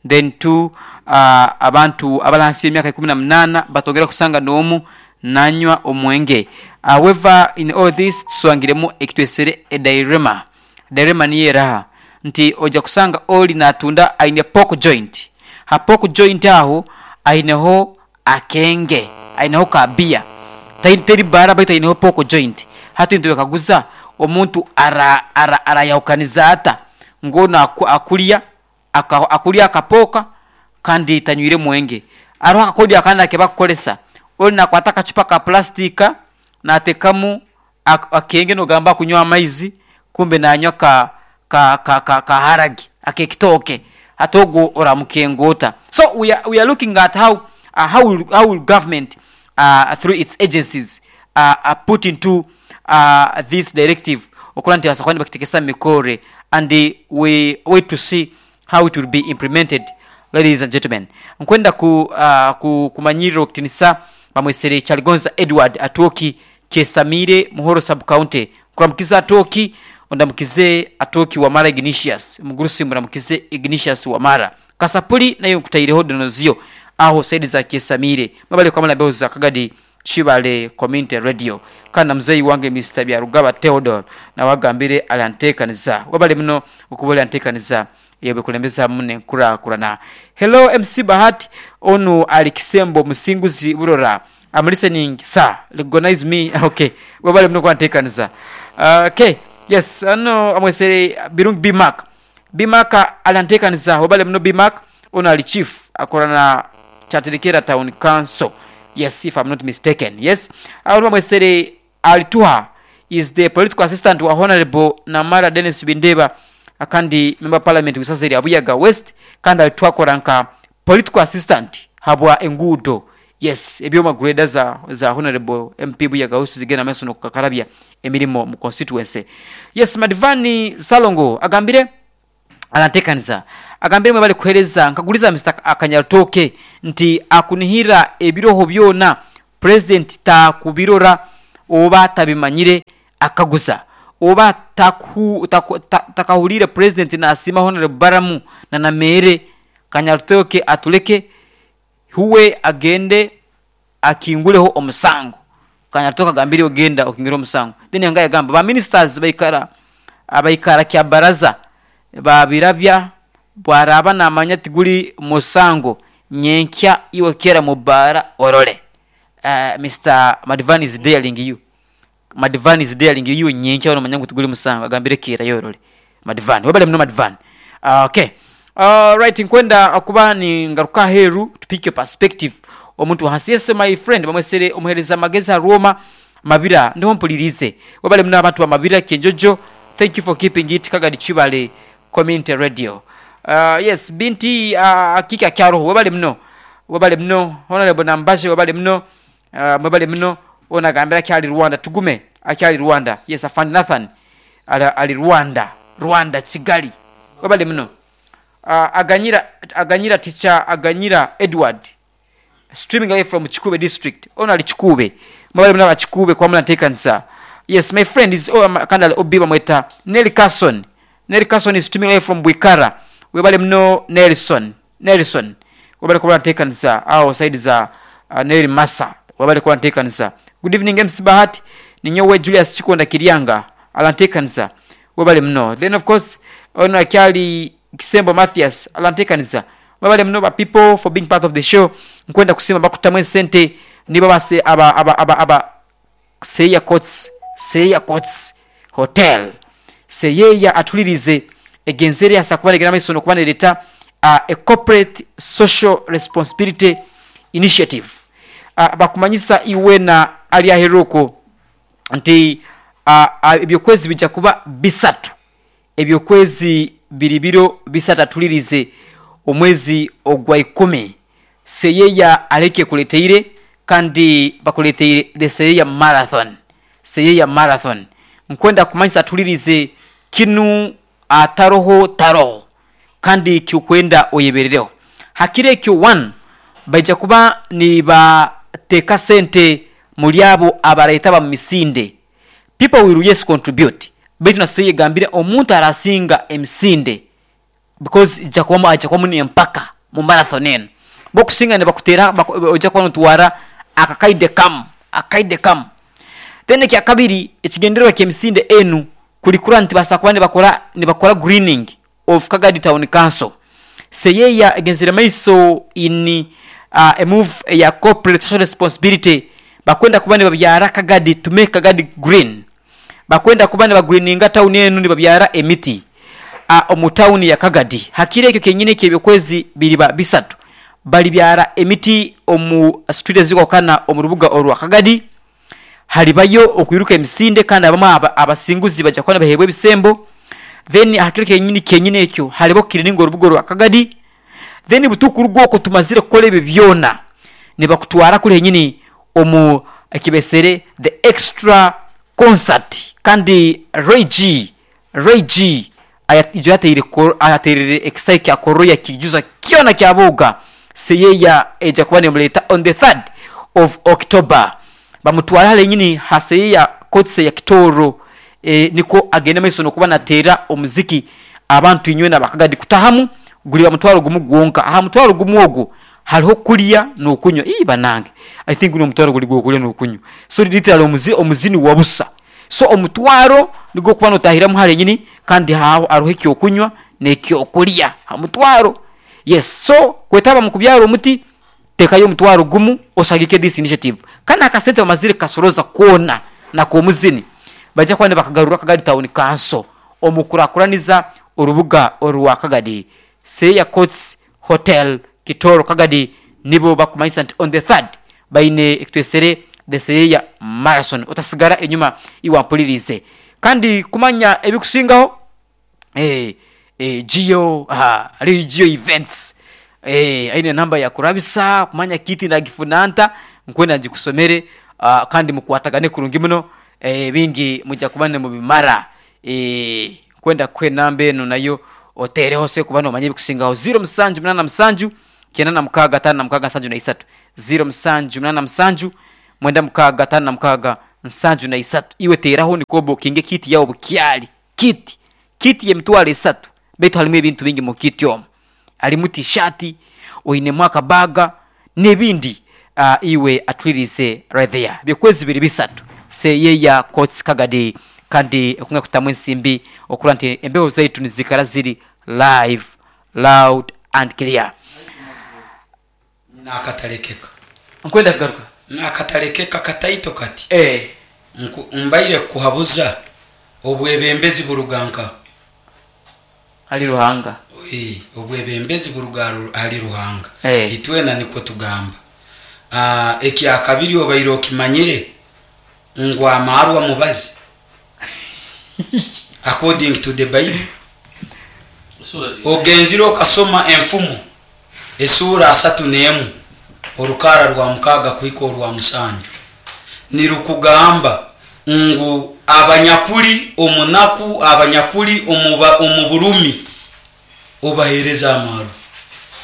then two, uh, abantu abali hansi y'emyaka ikumi na munana batongera kusanga n'omu nanywa omwenge. However, in all this tuswangiremu ekitwesere edirema. Direma niyo eraha nti ojja kusanga oli natunda aine pork joint, ha pork joint aho aineho akenge aineho kabia teri bara baitu aineho pork joint, hati ntibakaguza omuntu ara ara arayahukaniza ata ngono aku, akulya aka, akulya akapoka kandi tanywire mwenge. Aroho akakodi akandi akebakukolesa oli nakwata akacupa ka plastika natekamu ak, akenge nogamba kunywa amaizi kumbe nanywa ka ka ka ka, ka haragi akekitoke hati ogwo oramukengota. So we are, we are looking at how uh, how will, how will government uh, through its agencies uh, uh, put into uh, this directive okora nti basakwani bakitekesa mikore, and we wait to see how it will be implemented. Ladies and gentlemen, nkwenda ku, uh, ku kumanyirira okutinisa bamwesere Kyaligonza Edward Atwoki Kyesamire Muhoro sub county. Kuramukiza Atwoki, ondamukize Atwoki Wamara Ignatius mugurusi, muramukize Ignatius Wamara Kasapuli nayo nkutaireho donozio aho saidi za Kyesamire mabale kwa mala za Kagadi Kibale Community Radio. Kana mzei wange Mister Byarugaba Theodore na wagambire aliantekaniza wabale muno okubole antekaniza yebe kulembeza mune nkura kurana. Hello M C Bahati onu alikisembo musinguzi burora, I'm listening sir, recognize me. Okay, wabale muno kwantekaniza. Uh, okay, yes, ano amwesere Birungi B Mark. B Mark aliantekaniza wabale muno. B Mark ono ali chief akorana Chatirikera Town Council. Yes, if I'm not mistaken. Yes, aho mwesere alituha is the political assistant wa Honorable Namara Dennis Bindeba akandi member parliament wisaseri Abuyaga West, kandi alituha koranka political assistant habwa engudo. Yes, ebyoma grader za za Honorable M P Buyaga West zigena meso nokukakarabya emirimo mu constituency. Yes, Madivani Salongo agambire anatekaniza Agambire mwe bali kuhereza nkaguliza Mister Akanyarutoke nti akunihira ebiroho byona president takubirora oba tabimanyire akaguza oba taku, taku, ta, takahulire president nasima Honorable Baramu na Namere. Kanyarutoke atuleke huwe agende akinguleho omusango. Kanyarutoke agambire ogenda okingire omusango. Then yanga yagamba ba ministers baikara abaikara kya baraza babirabya bwaraba namanya tiguli musango nyenkya iwe kera mubara orole. Uh, Mister Madvan is daring you. Madvan is daring you nyenkya ono manyangu tiguli musango agambire kera yorole. Madvan webale mno Madvan. Uh, okay. Uh, right, nkwenda akuba ni ngaruka heru tupike perspective omuntu hasi. Yes my friend bamwesere omuhereza mageza Roma Mabira ndiho mpulirize. Webale mno abantu ba Mabira Kyenjojo. Thank you for keeping it Kagadi Chibale Community Radio. Uh, yes binti uh, akika kyaroho webale mno. Webale mno Honorable Nambaje webale mno. Uh, webale mno ona gambira kyali Rwanda tugume akyali Rwanda. Yes afand Nathan ali, ali Rwanda Rwanda Kigali webale mno. Uh, aganyira aganyira teacher aganyira Edward streaming live from Chikube district. Ona ali Chikube mwebale mno aba Chikube kwa mula ntekanisa. Yes my friend is oh, kandale obi bamweta Nelly Carson. Nelly Carson is streaming live from Bwikara. Webale mno Nelson Nelson webale kwa ntekanisa au side za uh, Nelly Massa webale kwa ntekanisa. Good evening M C Bahati ninyowe Julius Chikonda Kirianga alantekanisa webale mno. Then of course ona kyali Kisembo Mathias alantekanisa webale mno ba people for being part of the show. Nkwenda kusima bakutamwe sente niba base aba aba aba aba Seya Courts Seya Courts Hotel Seyeya atulirize egenzere asakubanegera maiso kubanereta uh, a corporate social responsibility initiative. Uh, bakumanyisa iwe na ali aheruko nti uh, uh, ebyokwezi bijja kuba bisatu ebyokwezi biribiro bisatu atulirize omwezi ogwa ikumi. Seyeya aleke kuleteire kandi bakuleteire the Seyeya Marathon. Seyeya Marathon nkwenda kumanyisa atulirize kinu ataroho taroho kandi kikwenda oyeberereho hakire ekyo one baija kuba ni bateka sente muri abo abareta ba misinde. People will yes contribute baitu na seye gambire omuntu arasinga emisinde because jakwamo ajakwamo ni empaka mu marathon eno bokusinga ne bakutera oja kwa ntwara akakaide kam akaide kam. Then ekya kabiri ekigendererwa ky'emisinde enu kulikura nti basakuba ne bakora ne bakora greening of Kagadi Town Council. Seyeya egenzere maiso in uh, a move ya corporate social responsibility bakwenda kuba ne babyara Kagadi to make Kagadi green. Bakwenda kuba ne bagreeninga town enu ne babyara emiti uh, omu town ya Kagadi. Hakire ekyo kenyine ky'ebyokwezi biriba bisatu bali byara emiti omu street ezikokana omu rubuga orwa Kagadi. Halibayo okuiruka emisinde kandi abamu abasinguzi bajja kuba bahebwe ebisembo. Then hakire kenyini kenyine ekyo halibo kiriningo orubuga rwa Kagadi. Then butukuru gwoko tumazire kukora ebyo byona ne bakutwara kuri henyini omu ekibesere the extra concert kandi Ray G Ray G ijo yateire ayaterere excite ya koroya kijuza kyona kyaboga Seyeya eja kuba nemuleta on the third of October. Bamutwara hale nyini haseya kotse ya Kitoro e, niko agenda maiso nokuba natera omuziki abantu inywe nabakagadi kutahamu guli bamutwaro gumu gwonka aha mutwaro gumu ogwo hariho kulya nokunywa ii banange I think no mutwaro guli gwo kulya nokunywa so literally omuzi omuzini wabusa so omutwaro nigo kuba notahiramu hale nyini kandi haho aruho ekyo kunywa nekyo kulya ha mutwaro. Yes so kwetaba mu kubyaro omuti tekayo mutwaro gumu osagike this initiative kana akasente bamazire kasoroza kona na komuzini bajja kwa ne bakagarura Kagadi Town Council omukurakuraniza urubuga orwa Kagadi. Seya Courts Hotel Kitoro Kagadi nibo bakumanyisa nti on the third baine ekitwesere the Seyeya Marathon otasigara enyuma iwampulirize kandi kumanya ebikusingaho eh eh Geo ah ali Geo events eh aine namba ya kurabisa kumanya kiti ndagifunanta nkwenda ngikusomere uh, kandi mukwatagane kurungi muno eh bingi mujja kubane mu bimara eh kwenda kwe namba eno nayo Otereho se kuba nomanya ebikusingaho ziro musanju munana musanju kyenda na mukaaga tano na mukaaga nsanju na isatu ziro musanju munana musanju mwenda mukaaga tano na mukaaga nsanju na isatu. Iwe teraho nikobo kinge kiti yawo bukyali kiti kiti yemitwalo esatu baitu halimu ebintu bingi mu kiti omu halimu tishati oinemu akabaga n'ebindi. uh, iwe atwirize right there byokwezi biri bisatu seyeya Courts Kagadi kandi okunga kutamu ensimbi okura nti embeho zaitu nizikara ziri live loud and clear. Nakatalekeka nkwenda kugaruka nakatalekeka kataito kati eh mbaire kuhabuza obwebembezi buruganka hali Ruhanga. Eh, obwebembezi buruga hali Ruhanga. Eh. Itwena niko tugamba. Ah, ekya kabiri obaire okimanyire ngu amarwa mubazi according to the Bible. Ogenzire okasoma enfumo esura asatu n'emu orukara rwa mukaga kuhika orwa musanju nirukugamba ngu abanyakuli omunaku abanyakuli omuba omuburumi obahereza amaru.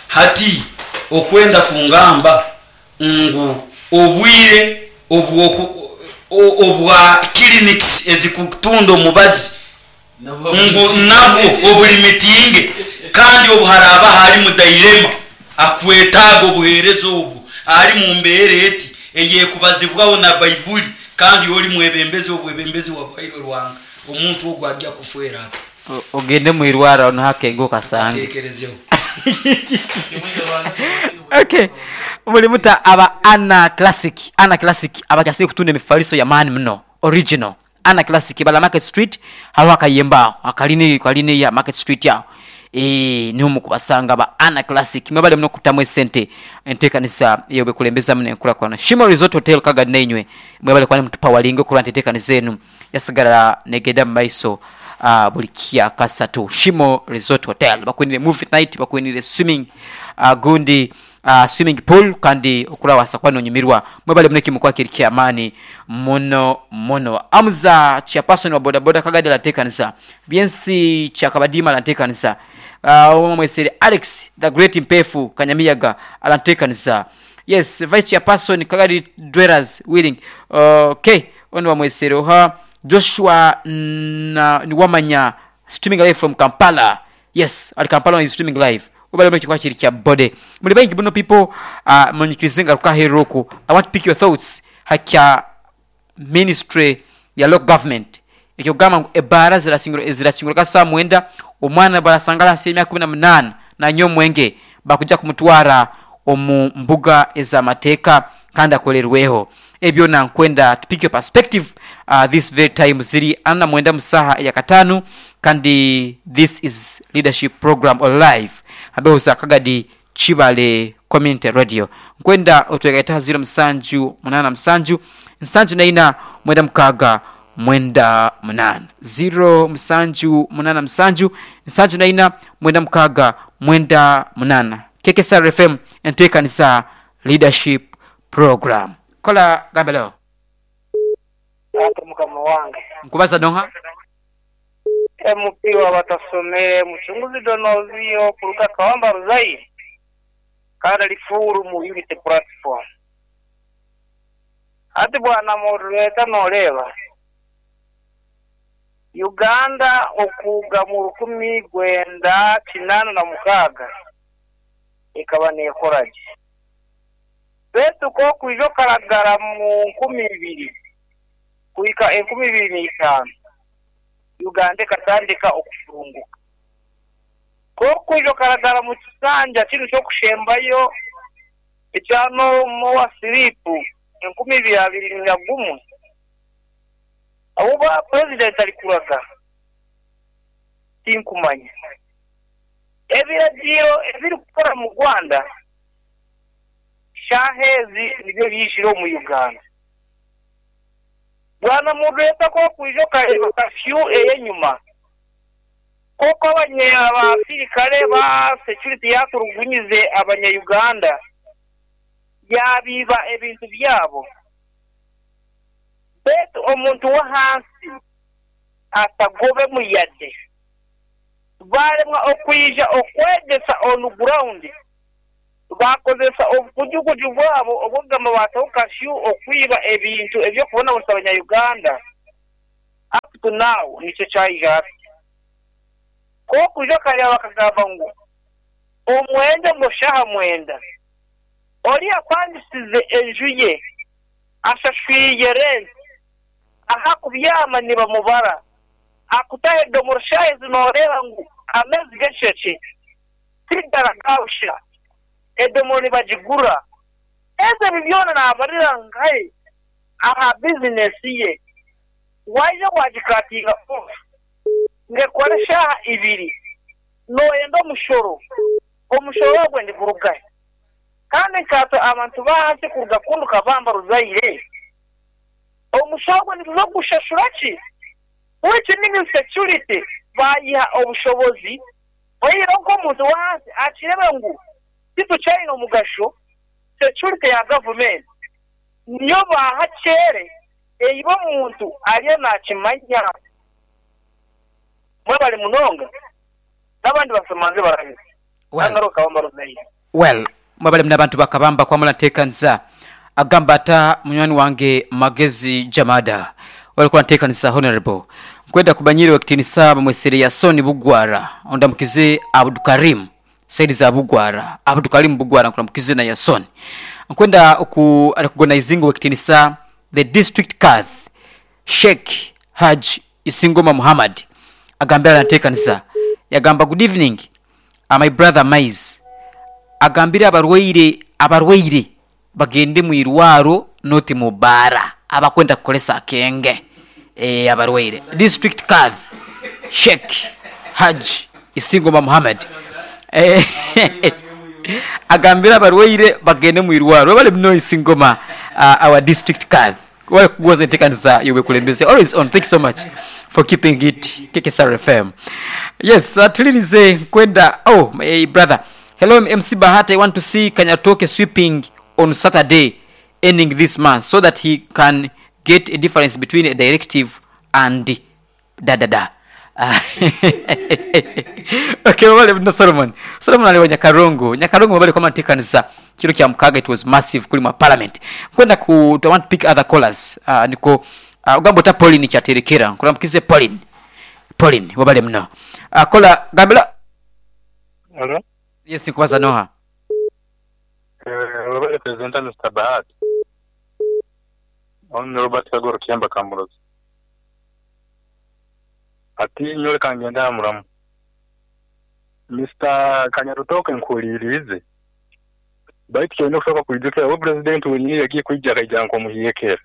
Hati okwenda kungamba ngu obwire obwoku obwa clinics ezikutunda omubazi ngu nabwo obulimitinge kandi obuharaba hali mu dilema akwetaga obuhereza obwo ali mu mbeere eti eyekubazibwaho na Baibuli kandi oli mwebembezi obwebembezi wabwaire Rwanga omuntu ogwo ajja kufwera ati ogende mu irwara ono hakengo kasange tekerezeho. Okay, mulimuta aba Ana Classic. Ana Classic abakyasire kutunda emifaliso ya maani muno original Ana Classic bala Market Street haliho akayemba akalini kalini ya Market Street yaho eh niho mukubasanga ba Ana Classic mwebale muno kutamu esente entekanisa iyo bekulembeza mune enkulakulana. Shimo Resort Hotel Kagadi neinywe mwebale kwani mutupa walingo kuranta entekanisa enu yasigala negenda mu maiso uh, buli kya kasatu. Shimo Resort Hotel bakwinire movie night bakwinire swimming uh, gundi uh, swimming pool kandi okulawasa kwano nyumirwa mwebale mune kimukwa kiri kya amani muno muno. Amza chairperson wa boda boda Kagadi lantekanisa byensi chakabadima lantekanisa uh, mwesere Alex the Great Mpefu Kanyamiyaga alantekanisa. Yes, vice chairperson Kagadi Dwellers Willing. Okay, ono wa mwesere oha Joshua na niwamanya streaming live from Kampala. Yes, ali Kampala is streaming live. Ubale mwe chikwa chiri kya bode. Muli bangi buno people uh, munyikirizenga rukaheruku. I want to pick your thoughts hakya ministry ya local government. Ekyo gamba ngu ebara zirasingura zirasingura kasa mwenda omwana barasangala asilimia kumi na munana na nyo mwenge bakuja kumutwara omu mbuga ez'amateeka kandi akolerweho. Ebyo na nkwenda to pick your perspective uh, this very time ziri ana mwenda musaha ya katanu kandi this is leadership program on live abehuza Kagadi Chibale Community Radio. Nkwenda otwegaita zero musanju munana musanju nsanju naina mwenda mukaga mwenda munana zero musanju munana musanju nsanju naina mwenda mukaga mwenda munana. K K S R F M entekanisa leadership program. Kola gambelo. Ate mukama wange. Nkubaza donha? M P wa batasomere muchunguzi donovio kuruka Kawamba Ruzai. Kada lifuru mu unity platform. Ate bwana moderator noleba. Uganda okuga mu rukumi gwenda kinana na mukaga. Ikaba nekoraje. Betu ko kuijo karagara mu nkumi ibiri kuika enkumi ibiri n'itaano Uganda katandika okufunguka ko kuijo karagara mu kisanja kino kyokushembayo ekyano mowa siripu enkumi ibiri abiri na gumu abo ba president alikuraga tinkumanya ebiragiro ebiri kukora mu Rwanda shahezi nibyo byishiro mu Uganda. Bwana mudeta ko kuijo kareba kafyu eyenyuma koko abanye abasirikare ba security yaturugunyize abanya Uganda yabiba ebintu byabo betu omuntu wa hansi atagobe muyade Balemwa okwija okwegesa on ground bakozesa obukujukuju bwabo obwogamba bataho kashu okwiba ebintu ebyokubonabonesa abanya-Uganda. Up to now nikyo kyaija kokuja karya bakagamba ngu omwenda ngo shaha mwenda oli apangisize enju ye ashashwiye rent aha kubyama nibamubara akutahe domoroshaye zinoreba ngu amezi gesheke tigaragausha edomoro nibagigura eze bibyona nabarira ngai aha business ye waje wagikatinga off ngekora shaha ibiri noyenda omushoro omushoro ogwe ndigurugahe kandi nkato abantu bahansi kuruga kundu kabamba ruzaire omushoro ogwe nituza kushashura ki which means security bayiha obushobozi oyira nk'omuntu wahansi akirebe ngu titukyayine omugasho security ya government niyo baha kyere eiba omuntu ariyo nakimanya mwebali munonga n'abandi basomanze barabizi well mwebale muna abantu bakabamba kwamula nteekanisa agamba ata munywani wange Magezi Jamada walikuwa nteekanisa honorable nkwenda kubanyire wekitinisa bamwesere Yasoni Bugwara ondamukize Abdukarim Saidi za Bugwara Abdukarim Bugwara nkuramukize na Yasoni nkwenda ku recognizinga wekitinisa the district cath Sheikh Haj Isingoma Muhammad agambira nteekanisa yagamba good evening uh, my brother Maize agambira abarwaire abarwaire bagende mu irwaro noti mu bara abakwenda kukolesa akenge eh abarwaire district cath Sheikh Haj Isingoma Muhammad eh agambira abarwaire bagende mu irwaro bali mno Isingoma uh, our district cath wale kugoza ntekanisa yobe kulembeze always on. Thank you so much for keeping it K K S R F M. Yes, uh, tulirize kwenda oh my brother hello M C Bahati, I want to see Kanyatoke sweeping on Saturday ending this month so that he can get a difference between a directive and da da da. Okay, wale no Solomon Solomon aliwa Nyakarongo Nyakarongo wale kama ntekanisa kilo kya mukaga it was massive kuli ma parliament kwenda ku I want to pick other callers uh, niko uh, ugambo ta Pauline kyaterekera nkuramkize Pauline Pauline wabale mno uh, kola gambela hello yes nkubaza noha eh wabale president Mister Bahati on Robert Kagoro Kiamba Kamurozi ati nyore kangenda muramu Mister Kanyarutoke nkulirize baitu kyona kusoka kwijukira we president wenyini yagiye kwijja akajja nko muhiyekera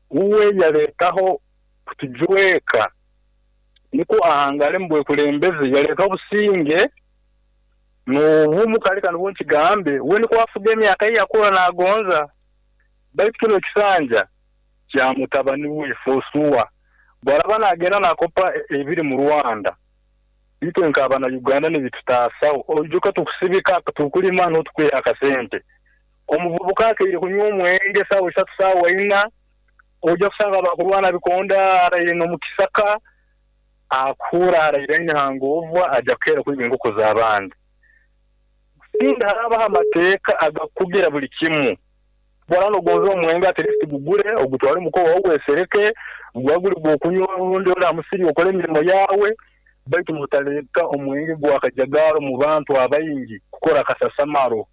uwe yaletaho kutujweka niko ahangale mbwe kulembeze yaletaho businge n'obumu kale kano bunkigambe we niko afuga emyaka ye yakura nagonza baitu kino ekisanja kya mutabani we Fosuwa bwaraba nagenda nakopa ebiri mu Rwanda itwe nkabana Uganda nibitutasaho ojuka tukusibika tukulima n'otukwe akasente omuvubuka akeire kunywa omwenge sawa isatu sawa ina ojja kusanga abakurwana bikonda araire n'omukisaka akura araire nhangovwa ajja kukera kwiba enkoko z'abandi sinda harabaho amateeka agakugira buli kimu bwara nogonza omwenge at least gugure ogutware muko wawe wesereke gwaguri gwokunywa urundi ora musiri okole emirimo yawe baitu mutaleka omwenge gwakajagaro mu bantu abayingi kukora akasasamaro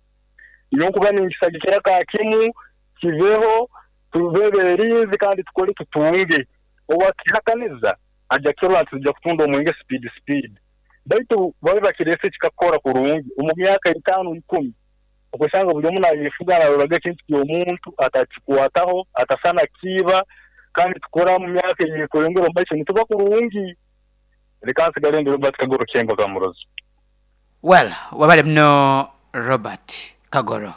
nyokuba ninkisagikira ka kimu kiveho tubeberinzi kandi tukole tutunge owakihakaniza ajja kirwa tujja kutunda omwenge speed speed baitu babe bakirese kikakora kurungi omu myaka itano ikumi okusanga buli omu nayefuga naroraga ekintu ky'omuntu atakikwataho atasana kiba kandi tukora mu myaka eyekurengera omu maiso nituba kurungi leka nsigale ndi Robert Kagoro Kiemba Kamurozi. Well, wabale mno Robert Kagoro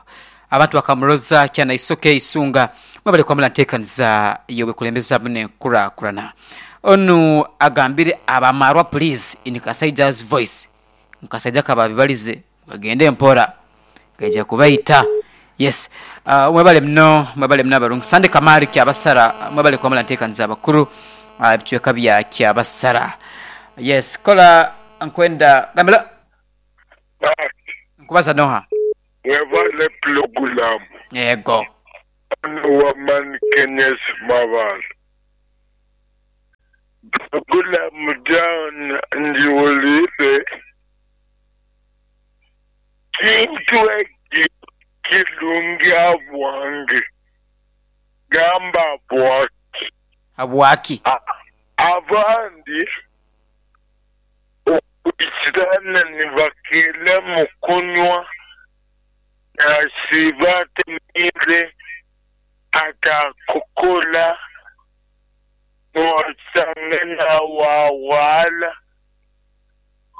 abantu bakamuroza kyana isoke isunga mwabale kwamula nteekaniza yobe kulembeza mune kurakurana onu agambire abamarwa please in Kasaija's voice Nkasaija kababibalize bagende mpora gaja kubaita. Yes, uh, mwabale mno mwabale mno abarungi Sande Kamari kyabasara mwabale kwamula nteekaniza abakuru uh, ebicweka bya kyabasara. Yes, kola Nkwenda gambira nkubaza noha. Webale pulogulamu. Yego. Waman Kenneth Mabala. Pulogulamu down njiwulire. Kintu eki kirungi abwange. Gamba bwaki. Abwaki. Abandi okwisirana nibakela mu kunywa nasibatemire atakukola nosanga wawala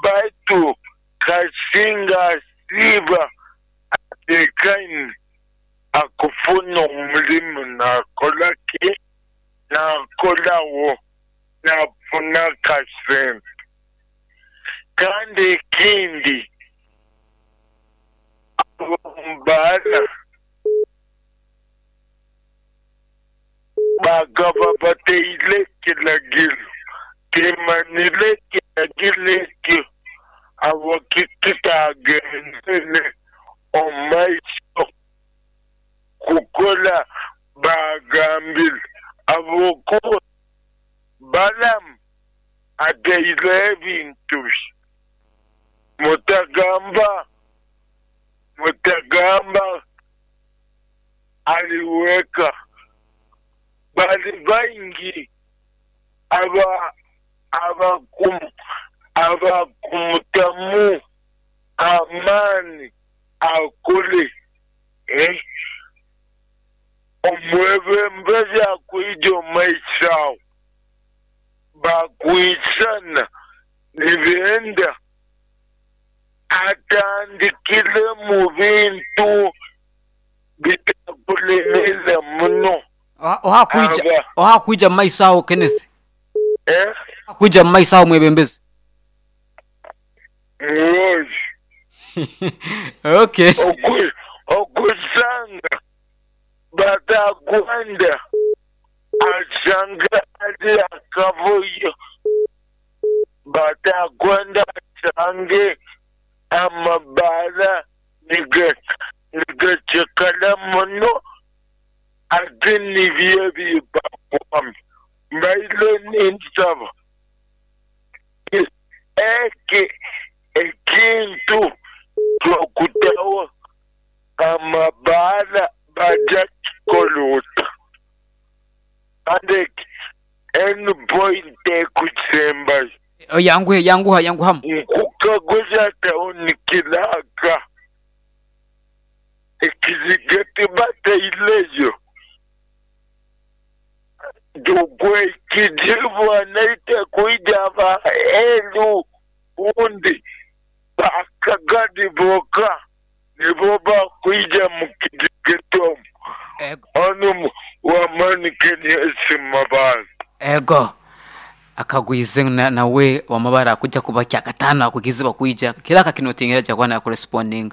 baitu kasinga siba atekaini akufuna omulimu nakola ki nakolawo nafuna kasente. Kandi ekindi abambala bagaba bateile kilagilo kimanile kilagilo ekyo abakikitagendele omumaiso kukola bagambile abokuba balamu ateile ebintu mutagamba mutagamba aliweka bali baingi aba abakum abakumutamu amani akule eh omwebembezi akuija omaisao bakuisana nibenda atandikile mu bintu bitakulemeza muno. Oha kuija oha kuija maisao Kenneth. Eh? Kuija maisao mwebembezi. Mwozi. Okay. Oku okusanga batakwenda asanga ali akavuyo batakwenda asange amabala nigacekala muno ate nibyo bibakwami mbaile ninsaba eke ekintu kyokutawa amabala baja kikoluta ande enu point ekusembayo. Yanguhe yanguha yanguhamu nkukaguza tawuni kilaka ekizigati bataileyo dugwe kijibu anaita kuija ba elu undi bakagadi boka nibo bakuija mukizigatomu onu wamani Kenneth Mabala. Ego akagwize nawe wamabara kujja kuba kyakatano akugize bakuija kiraka kinotingera jakwana corresponding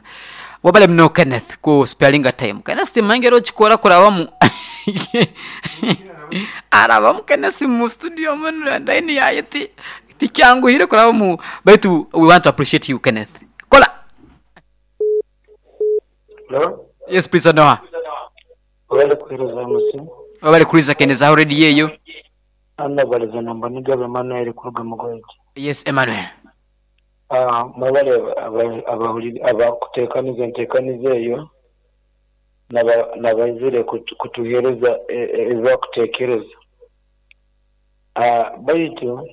wabale mno Kenneth ku spelling time Kenneth mangero chikora kurabamu arabamu Kenneth mu studio mun ndaini yayiti tikyanguhire kurabamu baitu we want to appreciate you Kenneth. Kola. Hello? Yes please Noah. Wabale kuhereza musi. Wabale kuriza Kenneth already yeyo. Anna baliza namba nigabe Emmanuel kuruga mugoyi. Yes Emmanuel. Ah mwabale abahuli abakutekaniza entekaniza eyo nabaizire kutuhereza ebakutekereza. Ah baitu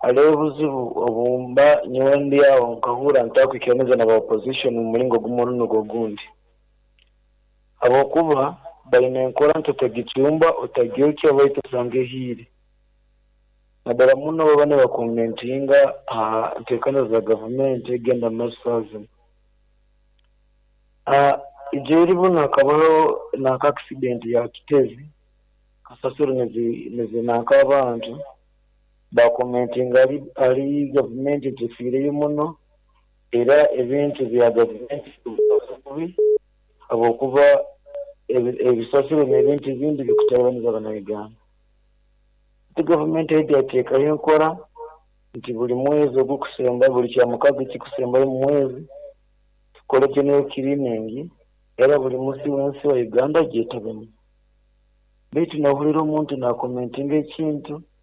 haliho obuzibu obumba nyowe ndi aho nkahura ntakwikaniza na ba opposition mu mulingo gumu n'ogundi gundi. Abokuba baine enkora nti otagicumba otagyokya baitu osange ehiire. Naddala muno baba nibakomentinga aha nteekaniza za gavumenti egenda mu maiso zinu. Ah ijo eribuno hakabaho nanka accident ya Kitezi kasasiro nizinanka abantu bakomentinga ari ari gavumenti etufiireyo muno era ebintu bya gavumenti bibi habwokuba ebisasiro n'ebintu ebindi bikutabaniza Abanyayuganda. Ati gavumenti yateekayo enkora Nti buli mwezi ogukusemba, buli kyamukaga ekikusembayo mu mwezi, tukole general cleaning, era buli musi wensi wa Uganda gyetabemu. Baitu nohulira omuntu nakomentinga ekintu.